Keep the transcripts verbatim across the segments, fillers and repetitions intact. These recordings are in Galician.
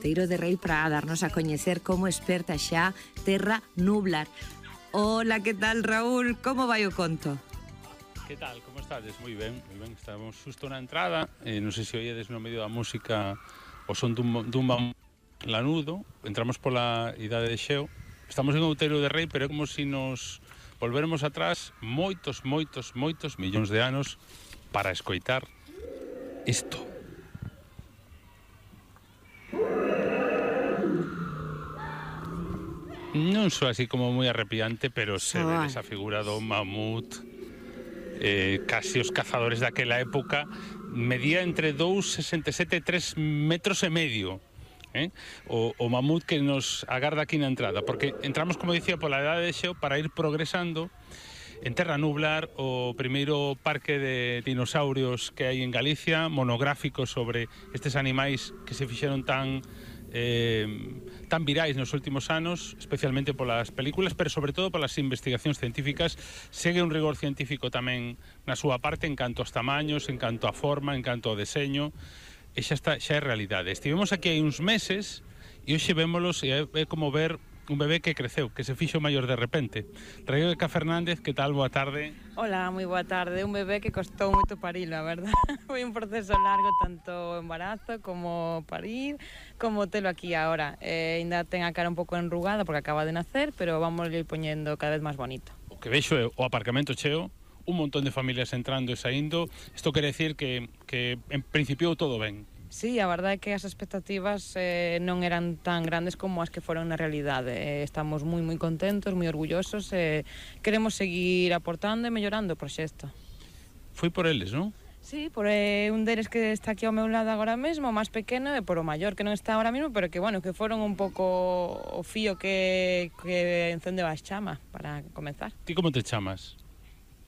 Teiro de Rei para darnos a coñecer como experta xa Terra Nublar. Hola, que tal, Raúl? Como vai o conto? Que tal, como estades? Moi ben, moi ben. Estamos xusto na entrada, eh, non sei se oíedes no medio da música o son dun, dun lanudo. Entramos pola idade de Xeo. Estamos en Outeiro de Rei, pero é como se si nos volvermos atrás moitos, moitos, moitos millóns de anos para escoitar isto. Non só así como moi arrepiante, pero se ve esa figura do mamut, eh, casi os cazadores daquela época, medía entre dous coma sesenta e sete e tres metros e medio, eh? o, o mamut que nos agarda aquí na entrada, porque entramos, como dicía, pola idade de Xeo para ir progresando en Terra Nublar, o primeiro parque de dinosaurios que hai en Galicia, monográfico sobre estes animais que se fixeron tan eh, tan virais nos últimos anos, especialmente polas películas, pero sobre todo polas investigacións científicas. Segue un rigor científico tamén na súa parte en canto aos tamaños, en canto á forma, en canto ao deseño, e xa está, xa é realidade. Estivemos aquí hai uns meses e hoxe vémolos e é como ver un bebé que creceu, que se fixo maior de repente. Rebeca Fernández, que tal? Boa tarde. Hola, moi boa tarde. Un bebé que costou moito parilo, a verdad. Foi un proceso largo, tanto o embarazo como parir, como telo aquí agora. Eh, ainda ten a cara un pouco enrugada porque acaba de nacer, pero vamos ir poñendo cada vez máis bonito. O que vexo é o aparcamento cheo, un montón de familias entrando e saindo. Isto quere decir que, que en principio todo ben. Sí, a verdade é que as expectativas eh, non eran tan grandes como as que foron na realidade. Eh, estamos moi moi contentos, moi orgullosos e eh, queremos seguir aportando e mellorando o proxecto. Foi por eles, non? Sí, por eh, un deles que está aquí ao meu lado agora mesmo, o máis pequeno, e por o maior que non está agora mesmo, pero que, bueno, que foron un pouco o fío que, que encendeu as chamas para comenzar. Ti como te chamas?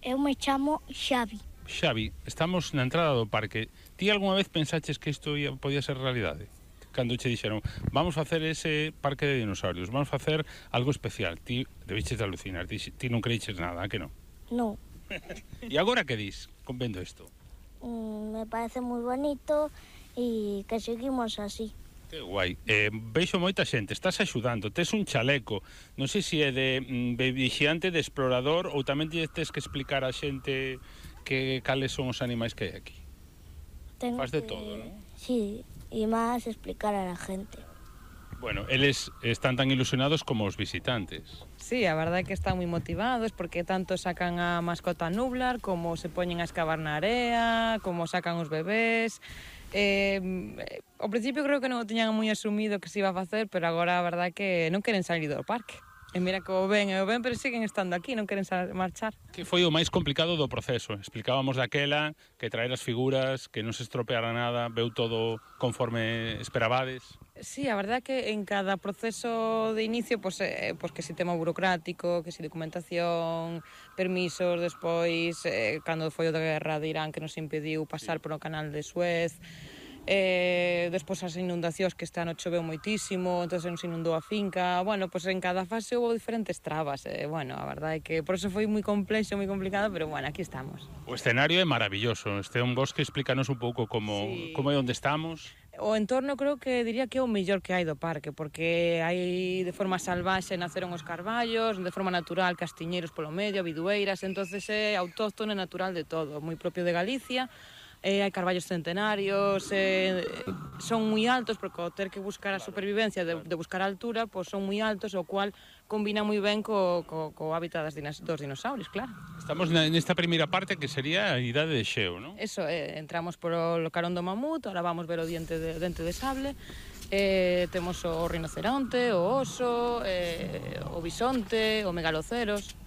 Eu me chamo Xavi. Xavi, estamos na entrada do parque. Ti algunha vez pensaches que isto ia, podía ser realidade? Cando che dixeron, vamos facer ese parque de dinosaurios, vamos facer algo especial. Ti debiches de alucinar, ti, ti non creiches nada, que non? Non. E agora que dis, con vendo isto? Mm, me parece moi bonito e que seguimos así. Que guai. Eh, veixo moita xente, estás axudando, tes un chaleco, non sei se é de, de vixiante, de explorador, ou tamén tes que explicar a xente que cales son os animais que hai aquí. Tengo Faz de que... todo, non? Sí, e máis explicar a la gente. Bueno, eles están tan ilusionados como os visitantes. Sí, a verdade é que están moi motivados porque tanto sacan a mascota Nublar como se poñen a excavar na area, como sacan os bebés. Eh, ao principio creo que non o tiñan moi asumido que se iba a facer, pero agora a verdade é que non queren salir do parque. E mira que o ven e o ven, pero siguen estando aquí, non queren marchar. Que foi o máis complicado do proceso? Explicábamos daquela que traer as figuras, que non se estropeara nada, veu todo conforme esperabades. Sí, a verdade é que en cada proceso de inicio, pues, eh, pues que si tema burocrático, que si documentación, permisos, despois, eh, cando foi o da guerra de Irán que nos impediu pasar sí. por o canal de Suez, eh, despois as inundacións que este ano choveu moitísimo, entón nos inundou a finca. Bueno, pues en cada fase houve diferentes trabas, eh, bueno, a verdade é que por eso foi moi complexo, moi complicado, pero bueno, aquí estamos. O escenario é maravilloso, este é un bosque, explícanos un pouco como, sí. como é onde estamos. O entorno creo que diría que é o mellor que hai do parque, porque hai de forma salvaxe naceron os carballos, de forma natural castiñeiros polo medio, bidueiras, entonces é autóctono e natural de todo, moi propio de Galicia. Eh, hai carballos centenarios, eh, son moi altos, porque ao ter que buscar a supervivencia de, de buscar a altura, pues son moi altos, o cual combina moi ben co, co, co hábitat das dinos, dos dinosaurios, claro. Estamos nesta primeira parte que sería a idade de Xeo, non? Eso, eh, entramos por o carón do mamut, ahora vamos ver o diente de, dente de sable, eh, temos o rinoceronte, o oso, eh, o bisonte, o megaloceros.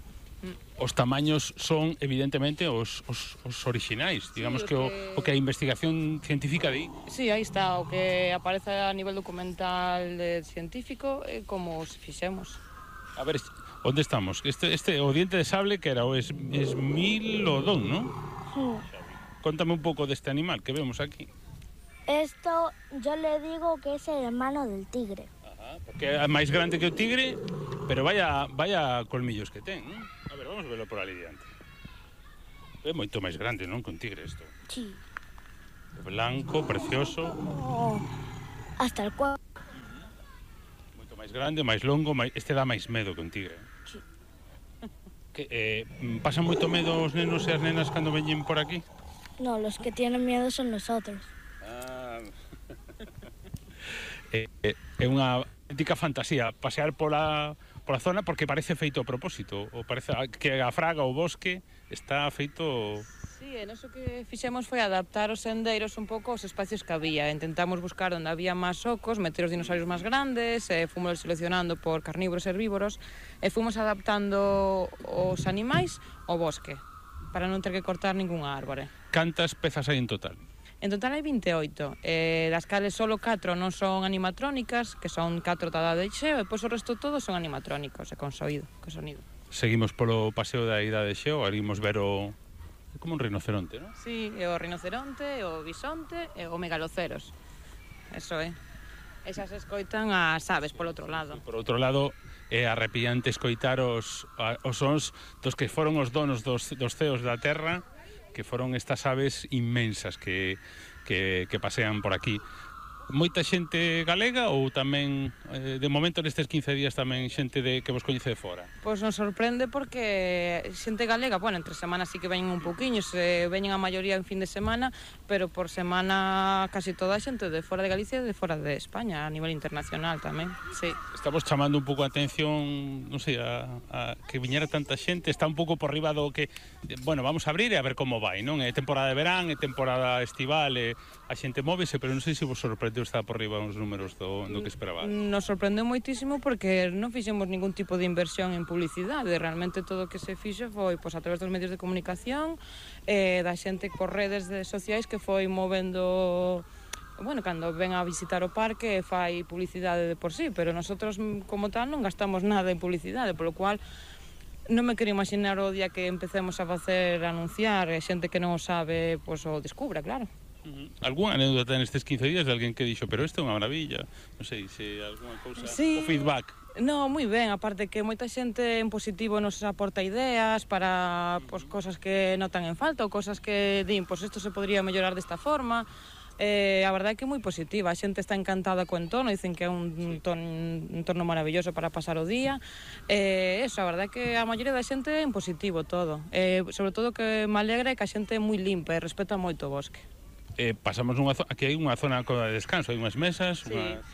Os tamaños son, evidentemente, os, os, os orixinais, digamos sí, que, que... O, o que a investigación científica di. Sí, aí está, o que aparece a nivel documental de científico, eh, como os fixemos. A ver, onde estamos? Este, este o diente de sable que era o es, esmilodón, non? Sí. Contame un pouco deste animal que vemos aquí. Esto yo le digo que es el hermano del tigre. Ajá, porque é máis grande que o tigre, pero vaya, vaya colmillos que ten, non? A ver, vamos a verlo por ali diante. É moito máis grande, non? Que un tigre isto. Sí. Blanco, precioso. Oh, hasta el cuerpo. máis grande, máis longo, máis... este dá máis medo que un tigre. Sí. Que, eh, pasan moito medo os nenos e as nenas cando veñen por aquí? No, los que tienen miedo son nosotros. Ah. é, é unha auténtica fantasía pasear pola, pola zona porque parece feito a propósito, ou parece que a fraga, o bosque, está feito... Sí, e noso que fixemos foi adaptar os sendeiros un pouco aos espacios que había. Intentamos buscar onde había máis ocos, meter os dinosaurios máis grandes, e fomos seleccionando por carnívoros e herbívoros, e fomos adaptando os animais ao bosque, para non ter que cortar ningunha árbore. Cantas pezas hai en total? En total hai vinte e oito, eh, das cales solo catro non son animatrónicas, que son catro tada de xeo, e pois o resto todos son animatrónicos, e con soído, con sonido. Seguimos polo paseo da Ida de Xeo, arimos ver o... É como un rinoceronte, non? Sí, é o rinoceronte, o bisonte e o megaloceros. Eso é. Esas escoitan as aves polo outro lado. E por outro lado, é arrepiante escoitar os, os sons dos que foron os donos dos, dos ceos da terra, que foron estas aves inmensas que, que, que pasean por aquí. Moita xente galega ou tamén, eh, de momento nestes quince días tamén xente de, que vos coñece de fora? Pois nos sorprende porque xente galega, bueno, entre semanas sí que veñen un pouquiño, se veñen a maioría en fin de semana, pero por semana casi toda a xente de fora de Galicia e de fora de España, a nivel internacional tamén, sí. Estamos chamando un pouco a atención, non sei, a, a que viñera tanta xente, está un pouco por riba do que, bueno, vamos a abrir e a ver como vai, non? É temporada de verán, é temporada estival, e a xente móvese, pero non sei se vos sorprende está por riba uns números do, do que esperaba. Nos sorprendeu moitísimo porque non fixemos ningún tipo de inversión en publicidade. Realmente todo o que se fixo foi pois, a través dos medios de comunicación, eh, da xente por redes de sociais que foi movendo... Bueno, cando ven a visitar o parque fai publicidade de por sí, pero nosotros como tal non gastamos nada en publicidade, polo cual non me quero imaginar o día que empecemos a facer anunciar, e xente que non o sabe, pois o descubra, claro. Uh-huh. Algúna anécdota nestes quince días de alguén que dixo, pero isto é unha maravilla, non sei, se algunha cousa, sí. O feedback. No, moi ben, aparte que moita xente en positivo nos aporta ideas para pois, cosas que notan en falta ou cosas que din, pois isto se podría mellorar desta forma. Eh, a verdade é que é moi positiva, a xente está encantada co entorno, dicen que é un, ton, un entorno maravilloso para pasar o día. Eh, eso, a verdade é que a maioría da xente é en positivo todo. Eh, sobre todo que me alegra é que a xente é moi limpa e respeta moito o bosque. Eh, pasamos nunha zona, aquí hai unha zona de descanso, hai unhas mesas, sí. unha...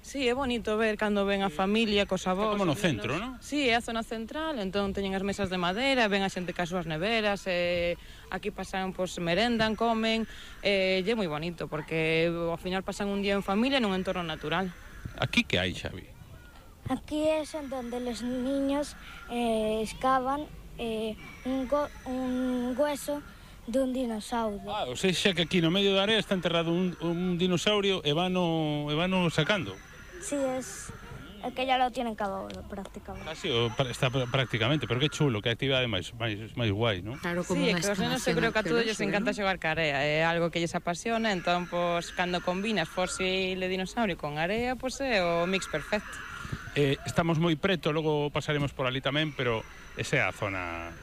Sí, é bonito ver cando ven a familia cos avós. Está como no centro, non? Sí, é a zona central, entón teñen as mesas de madeira, ven a xente cas súas neveras, e aquí pasan, pois, merendan, comen, e é moi bonito, porque ao final pasan un día en familia nun entorno natural. Aquí que hai, Xavi? Aquí es en donde los niños eh, excavan eh, un, go un hueso de un dinosaurio. Ah, ou seja que aquí no medio da área está enterrado un, un dinosaurio e vano, e vano sacando. Sí, es el que ya lo tienen cavado prácticamente. Así, o, está prácticamente, pero que chulo, que actividade máis, máis, máis guai, non? Claro, como sí, unha que os nenos eu creo que a todos lles encanta ¿no? xogar ca area, é algo que lles apasiona, entón, pois, cando combinas fósil de dinosaurio con area, pois é o mix perfecto. Eh, estamos moi preto, logo pasaremos por ali tamén, pero esa é a zona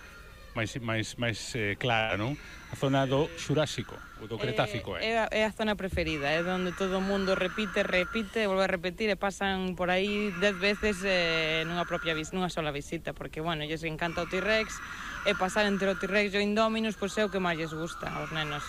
máis, máis, máis eh, clara, non? A zona do Xurásico, o do Cretácico, eh? eh? É, a, é a zona preferida, é onde todo o mundo repite, repite, volve a repetir e pasan por aí dez veces eh, nunha propia vis, nunha sola visita, porque, bueno, lles encanta o T-Rex, e pasar entre o T-Rex e o Indominus, pois é o que máis lles gusta aos nenos.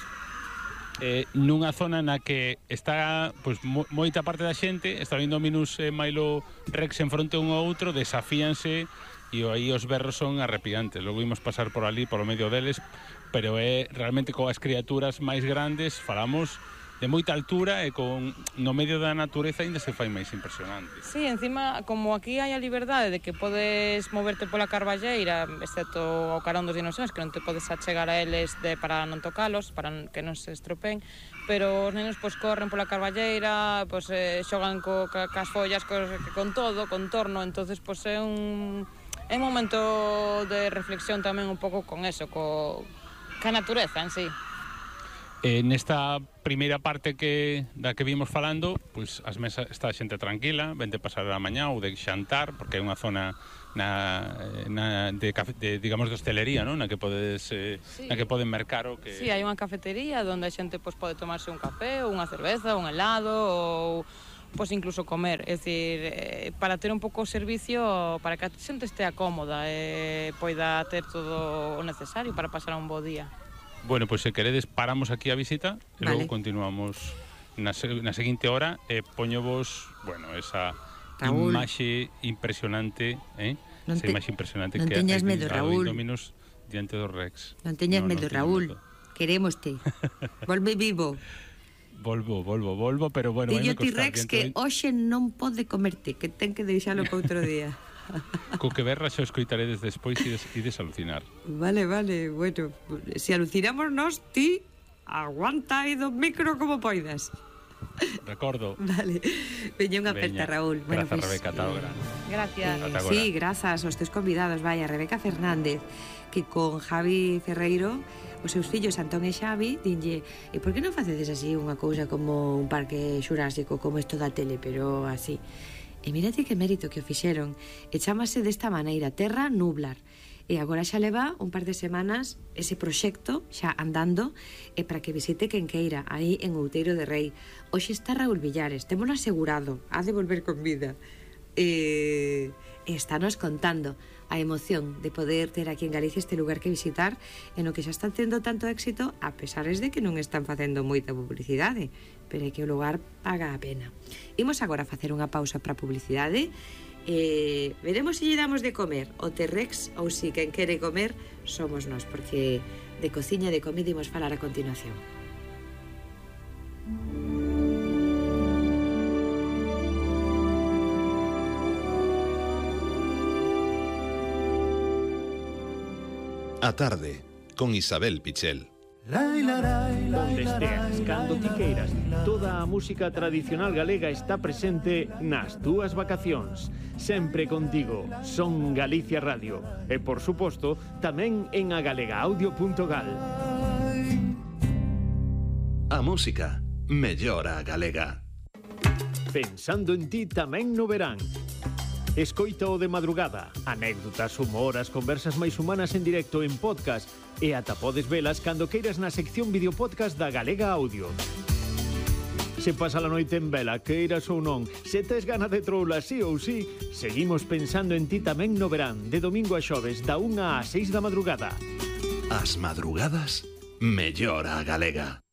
Eh, nunha zona na que está pois, mo, moita parte da xente, está o Indominus e Milo Rex en fronte un ao outro, desafíanse e aí os berros son arrepiantes. Logo imos pasar por ali, polo medio deles, pero é realmente coas criaturas máis grandes, falamos de moita altura e con no medio da natureza ainda se fai máis impresionante. Sí, encima, como aquí hai a liberdade de que podes moverte pola carballeira, excepto ao carón dos dinosaurios, que non te podes achegar a eles de, para non tocalos, para que non se estropeen, pero os nenos pois, corren pola carballeira, pois, eh, xogan co, ca, cas follas, co, con todo, con torno, entonces pois, é un, é un momento de reflexión tamén un pouco con eso, co, ca natureza en sí. Eh, nesta primeira parte que da que vimos falando, pois as mesas está a xente tranquila, ven de pasar a mañá ou de xantar, porque é unha zona na, na de, de digamos de hostelería, non? Na que podes eh, sí. Na que poden mercar o que Sí, hai unha cafetería onde a xente pois pode tomarse un café, ou unha cerveza, un helado ou pois incluso comer, é dicir, eh, para ter un pouco o servicio, para que a xente estea cómoda e poida ter todo o necesario para pasar un bo día. Bueno, pois se queredes paramos aquí a visita e Vale. logo continuamos na, se, na seguinte hora e poño vos, bueno, esa Raúl. imaxe impresionante, eh? Non esa te- imaxe impresionante non que teñas hai medo, do Raúl. Indominus diante do Rex. Non teñas No, medo, non teño Raúl. medo. Querémoste. Volve vivo. Volvo, volvo, volvo, pero bueno, Dillo vai me ti costar. Rex que hoxe non pode comerte, que ten que deixalo para outro día. Co que berra xa o escoitaredes despois e ides, ides alucinar. Vale, vale, bueno, se alucinamos nós, ti aguanta aí do micro como poidas. Recordo. Vale, veña unha Veña. aperta, Raúl. Grazas, pois, Rebeca, ata agora. Gracias. Ata agora. sí, grazas aos teus convidados, vaya, Rebeca Fernández, que con Javi Ferreiro, os seus fillos Antón e Xavi, dinlle, e por que non facedes así unha cousa como un parque xurásico, como isto da tele, pero así? E mírate que mérito que o fixeron, e chámase desta maneira, Terra Nublar. E agora xa leva un par de semanas ese proxecto xa andando e para que visite quen queira aí en Outeiro de Rei. Hoxe está Raúl Villares, témolo asegurado, ha de volver con vida. E, e estános contando a emoción de poder ter aquí en Galicia este lugar que visitar e no que xa están tendo tanto éxito a pesares de que non están facendo moita publicidade, pero é que o lugar paga a pena. Imos agora facer unha pausa para publicidade e veremos se lle damos de comer o T-Rex ou si quen quere comer somos nós, porque de cociña e de comida imos falar a continuación. A tarde, con Isabel Pichel. Onde esteas, cando ti queiras, toda a música tradicional galega está presente nas túas vacacións. Sempre contigo, Son Galicia Radio. E, por suposto, tamén en agalegaaudio punto gal. A música mellora a galega. Pensando en ti tamén no verán. Escoita o de madrugada, anécdotas, humor, as conversas máis humanas en directo en podcast e ata podes velas cando queiras na sección videopodcast da Galega Audio. Se pasa a noite en vela, queiras ou non, se tes gana de troula sí ou sí, seguimos pensando en ti tamén no verán, de domingo a xoves, da unha a seis da madrugada. As madrugadas mellora a galega.